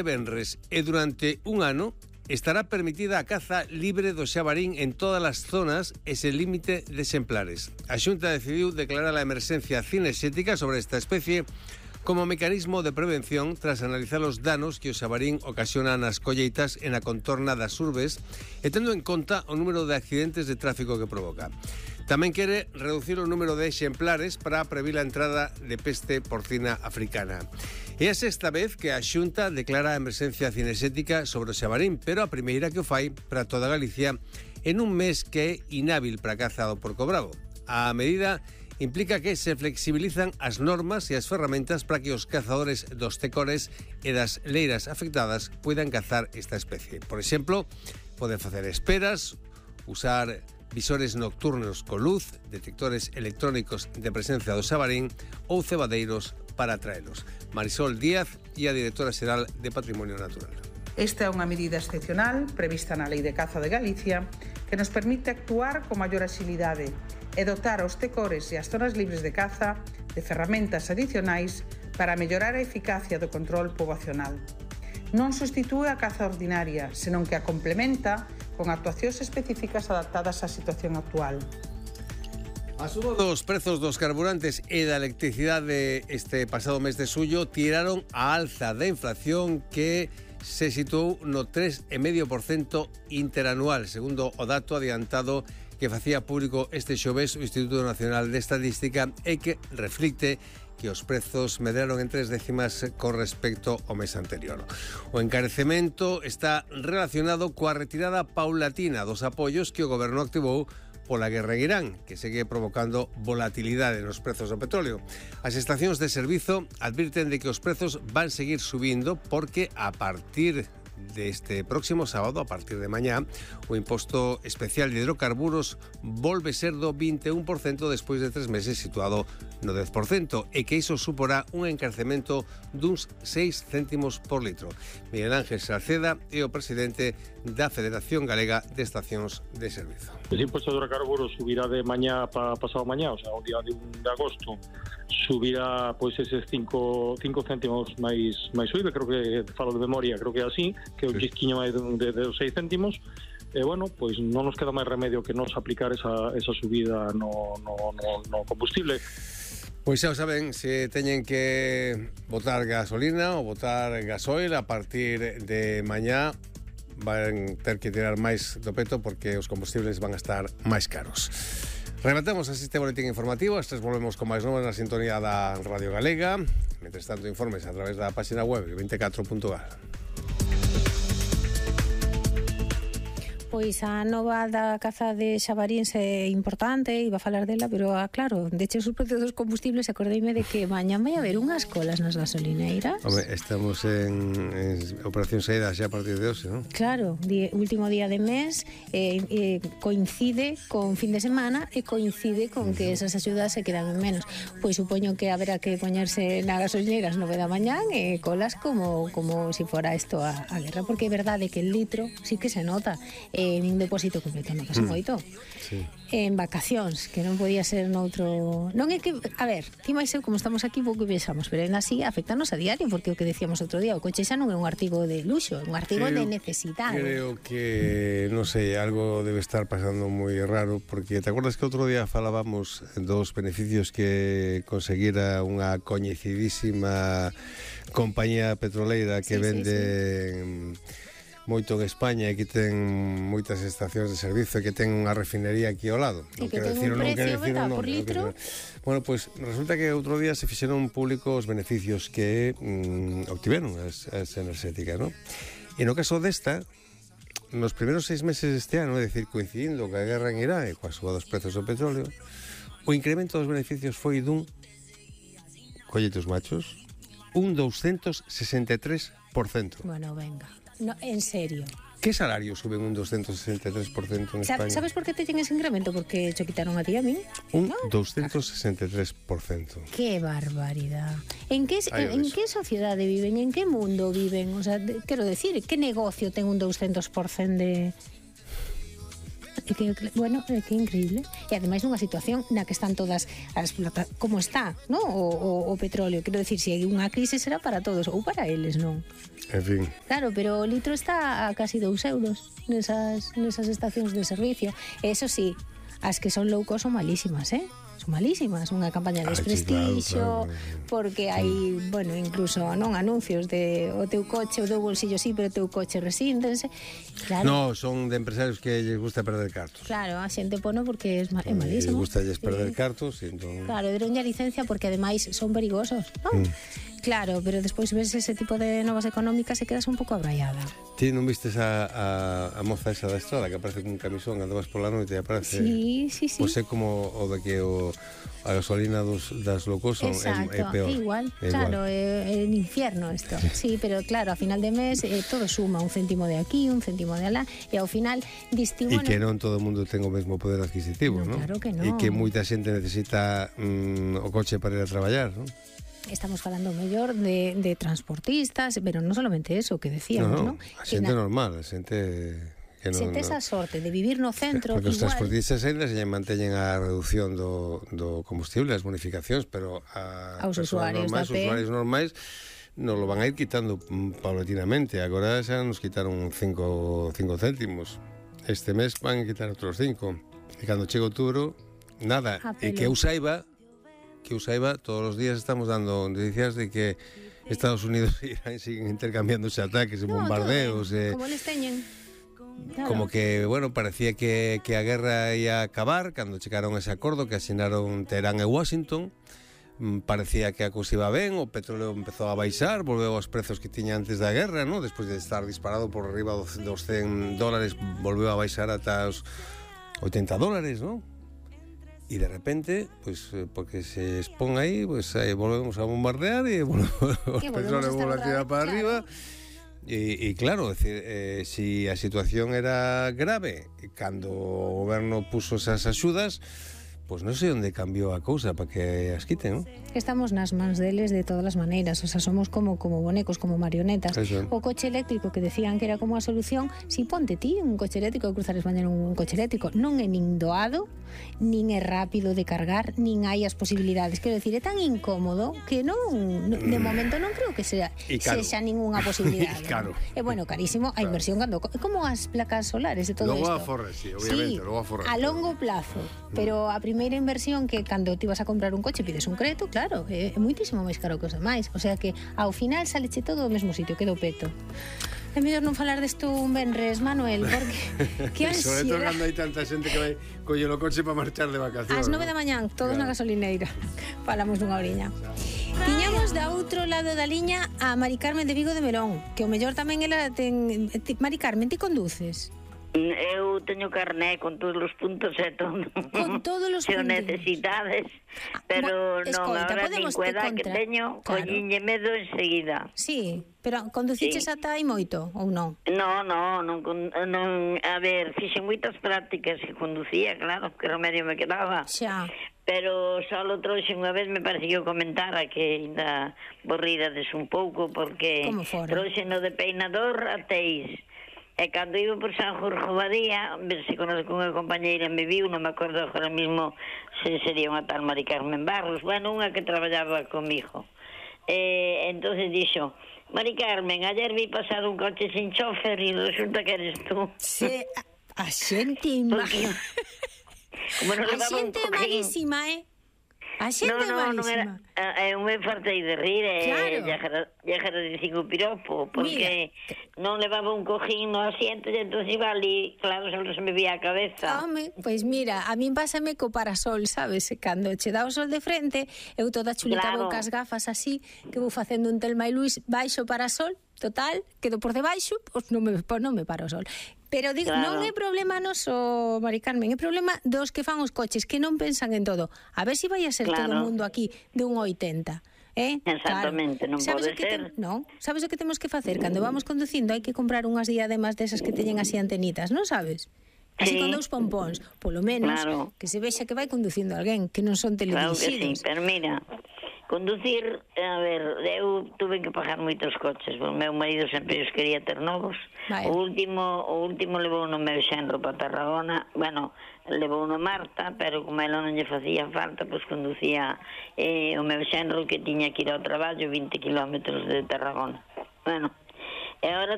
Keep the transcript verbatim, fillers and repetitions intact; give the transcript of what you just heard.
venres e durante un ano estará permitida a caza libre do xabarín en todas as zonas e sen límite de exemplares. A Xunta decidiu declarar a emerxencia cinexética sobre esta especie como mecanismo de prevención tras analizar os danos que o xabarín ocasiona nas colleitas e na contorna das urbes e tendo en conta o número de accidentes de tráfico que provoca. Tamén quere reducir o número de exemplares para previr a entrada de peste porcina africana. É a sexta vez que a Xunta declara a emerxencia cinexética sobre o xabarín, pero a primeira que o fai para toda Galicia en un mes que é inhábil para a caza do porco bravo. A medida implica que se flexibilizan as normas e as ferramentas para que os cazadores dos tecores e das leiras afectadas puedan cazar esta especie. Por exemplo, poden facer esperas, usar visores nocturnos con luz, detectores electrónicos de presencia do xabarín ou cebadeiros para atraelos. Marisol Díaz e a directora xeral de Patrimonio Natural. Esta é unha medida excepcional prevista na Lei de Caza de Galicia que nos permite actuar con maior axilidade e dotar aos tecores e as zonas libres de caza de ferramentas adicionais para mellorar a eficacia do control poboacional. Non substitúe a caza ordinaria, senón que a complementa con actuacións específicas adaptadas á situación actual. A suba dos prezos dos carburantes e da electricidade este pasado mes de xullo tiraron a alza da inflación que se situou no tres coma cinco por cento interanual, segundo o dato adiantado que facía público este xoves o Instituto Nacional de Estadística e que reflicte que os prezos medraron en tres décimas con respecto ao mes anterior. O encarecemento está relacionado coa retirada paulatina dos apoios que o goberno activou pola guerra en Irán, que segue provocando volatilidade nos prezos do petróleo. As estacións de servizo advirten de que os prezos van seguir subindo porque a partir deste próximo sábado, a partir de mañá, o imposto especial de hidrocarburos volve ser do vinte e un por cento despois de tres meses situado no dez por cento e que iso suporá un encarcemento duns seis céntimos por litro. Miguel Ángel Salceda é o presidente da Federación Galega de Estacións de Servizo. O imposto de hidrocarburos subirá de mañá para pasado mañá, o sea, o día de un de agosto, subirá pois eses cinco céntimos máis máis subido, creo que falo de memoria, creo que é así, que é un chisquiño máis de, de, de seis céntimos. E, bueno, pois non nos queda máis remedio que nos aplicar esa, esa subida no, no, no, no combustible. Pois xa o saben, se teñen que botar gasolina ou botar gasoil a partir de mañá van ter que tirar máis do peto porque os combustibles van a estar máis caros. Rematamos así este boletín informativo. Estes volvemos con máis novas na sintonía da Radio Galega. Mentres tanto, informes a través da página web vinte e catro punto gal. Pois a nova da caza de xabaríns é importante, iba a falar dela, pero ah, claro, de cheos os prezos dos combustibles, acordeime de que mañá vai haber unhas colas nas gasolineiras. Home, estamos en, en operación saída xa a partir de hoxe, non? Claro, di, último día de mes, eh, eh, coincide con fin de semana e coincide con que esas axudas se quedan en menos. Pois supoño que haberá que poñerse na gasolineiras nove da mañán e colas como como si fora isto a, a guerra, porque é verdade que el litro sí que se nota en un depósito completo, non pasa moito. Sí. En vacacións, que non podía ser noutro... Non é que, a ver, ti máis eu como estamos aquí pouco viaxamos, pero ainda así afectanos a diario, porque o que decíamos outro día, o coche xa non é un artigo de luxo, é un artigo creo, de necesidade. Creo que, non sei, algo debe estar pasando moi raro, porque te acordas que outro día falábamos dos beneficios que conseguira unha coñecidísima compañía petroleira que sí, vende... Sí, sí. moito en España e que ten moitas estacións de servizo e que ten unha refinería aquí ao lado. E que ten un precio, verdad, por litro. Bueno, pois pues, resulta que outro día se fixeron públicos os beneficios que mm, obtiveron as, as enerxéticas, non? E no caso desta, nos primeiros seis meses deste ano, é dicir, coincidindo ca guerra en Irán e coa suba dos prezos do petróleo, o incremento dos beneficios foi dun, collete os machos, un douscentos sesenta e tres por cento. Bueno, venga. No, en serio. Que salario suben un doscientos sesenta e tres por cento en España? Sabes por que te ten ese incremento? Porque cho quitaron a ti a mí. Un ¿no? doscientos sesenta e tres por cento. Que barbaridad. En que, en, en que sociedade viven? En que mundo viven? O sea, de, quero decir, que negocio ten un doscientos por cento de... é que, bueno, é que é increíble. E ademais nunha situación na que están todas as plata, como está, ¿no? O, o, o petróleo, quero decir, se hai unha crise será para todos ou para eles, non? En fin. Claro, pero o litro está a casi dous euros nesas, nesas estacións de servicio. Eso sí, as que son low cost son malísimas, eh? Son malísimas, unha campaña de desprestixio, claro, claro. Porque hai, bueno, incluso non anuncios de o teu coche, o teu bolsillo sí, pero o teu coche resíntense. Claro. No, son de empresarios que lles gusta perder cartos. Claro, a xente pono porque é, é malísimo. Lles gusta lles perder sí. cartos, e entón... Claro, deronlle a licencia porque ademais son perigosos, non? Mm. Claro, pero despois ves ese tipo de novas económicas e quedas un pouco abraiada. Ti non vistes a, a, a moza esa da estrada que aparece con un camisón, andabas pola noite e aparece... Sí, sí, sí. Pois é como o de que o, a gasolina dos, das locos son, exacto, é, é peor. É igual, é claro, igual. é, é un infierno isto. Sí, pero claro, a final de mes eh, todo suma, un céntimo de aquí, un céntimo de alá, e ao final distingo... E que non todo o mundo ten o mesmo poder adquisitivo, no, non? Claro que non. E que moita xente necesita mm, o coche para ir a traballar, non? Estamos falando mellor de, de transportistas, pero non solamente eso que decíamos, no, no, ¿no? A xente na... normal, a xente... Que non, xente esa sorte de vivir no centro. Porque os igual... transportistas ainda se manteñen a reducción do, do combustible, as bonificacións, pero a aos usuarios normais, da P. usuarios normais nos lo van a ir quitando paulatinamente. Agora xa nos quitaron cinco céntimos. Este mes van a quitar outros cinco. E cando chega outubro, nada. E que eu saiba, que eu saiba, todos os días estamos dando noticias de que Estados Unidos e Irán siguen intercambiándose ataques e no, bombardeos. Eh, como les teñen. Claro. Como que, bueno, parecía que, que a guerra ia acabar cando chegaron ese acordo que asinaron Teherán e Washington. Parecía que a cousa iba ben, o petróleo empezou a baixar, volveu aos prezos que tiña antes da guerra, ¿no? Despois de estar disparado por arriba dos cen dólares, volveu a baixar ata os oitenta dólares, ¿no? E de repente, pues, porque se expón aí, pues aí volvemos a bombardear e volvemos, o petróleo volve a tirar para claro. arriba. E, e claro, decir, eh, si a situación era grave, cando o goberno puso esas axudas, pois non sei onde cambiou a cousa para que as quiten, non? Estamos nas mans deles de todas as maneiras, o sea, somos como como bonecos, como marionetas. Eso. O coche eléctrico que decían que era como a solución, si ponte ti un coche eléctrico, cruzares mañana un coche eléctrico, non é nin doado, nin é rápido de cargar, nin hai as posibilidades. Quero decir, é tan incómodo que non, de momento non creo que sea sexa ningunha posibilidade. Claro. É bueno, carísimo, a inversión cando como as placas solares e todo isto. Logo a forre, sí, obviamente, sí, logo a forre. A longo plazo, pero a primeira inversión que cando ti vas a comprar un coche pides un crédito, claro, é, é muitísimo máis caro que os demais. O sea que ao final saleche todo do mesmo sitio, quedo peto. É mellor non falar desto un venres, Manuel, porque que ansiedade. Sobre todo cando hai tanta xente que vai colle o coche para marchar de vacacións. Ás nove da mañán, todos claro. Na gasolineira. Falamos dunha oriña. Tiñamos da outro lado da liña a Mari Carmen de Vigo de Melón, que o mellor tamén ela ten... Mari Carmen, ti conduces? Eu teño carné con todos os puntos e todo. Con todos os puntos. Se necesitades, pero ah, non, agora nin cueda que teño, claro. Collínlle medo enseguida. Sí, pero conduciches sí. Ata aí moito, ou non? Non, non, non, non, a ver, fixen moitas prácticas e conducía, claro, que remedio me quedaba. Xa. Pero só lo trouxe unha vez, me parece que eu comentara que ainda borridades un pouco, porque trouxe no de peinador a Teis. E cando iba por San Jorge Badía, se conozco unha compañeira me viu, non me acordo agora mismo se sería unha tal Mari Carmen Barros, bueno, unha que traballaba comigo. E entonces dixo, Mari Carmen, ayer vi pasar un coche sin chofer e resulta que eres tú. Se, a, a xente má... Como non a xente é malísima, eh? A xente no, no, é malísima. Non era, eu me fartei de rir e claro. lle agradecín o piropo, porque mira, non levaba un cojín no asiento e entón iba ali, claro, só se me vía a cabeza. Home, pois mira, a min pásame co parasol, sabes? Cando che dá o sol de frente, eu toda chulita claro. Vou cas gafas así, que vou facendo un Telma e Luís baixo parasol, total, quedo por debaixo, pois non me, pois non me paro o sol. Pero digo, claro. Non é problema noso, Mari Carmen, é problema dos que fan os coches, que non pensan en todo. A ver se si vai a ser claro. Todo o mundo aquí de un oitenta. Eh? Exactamente, claro. Non pode ser. Te... Non, sabes o que temos que facer? Cando vamos conducindo hai que comprar unhas diademas desas que teñen así antenitas, non sabes? Así sí. Con dous pompóns, polo menos claro. Que se vexa que vai conducindo alguén, que non son teledirixidos. Claro que sí, pero mira, Conducir, a ver, eu tuve que pagar moitos coches, o meu marido sempre os quería ter novos. Vale. O último o último levou no meu xenro para Tarragona, bueno, levou no Marta, pero como ela non lle facía falta, pois conducía eh, o meu xenro que tiña que ir ao traballo vinte kilómetros de Tarragona. Bueno, e agora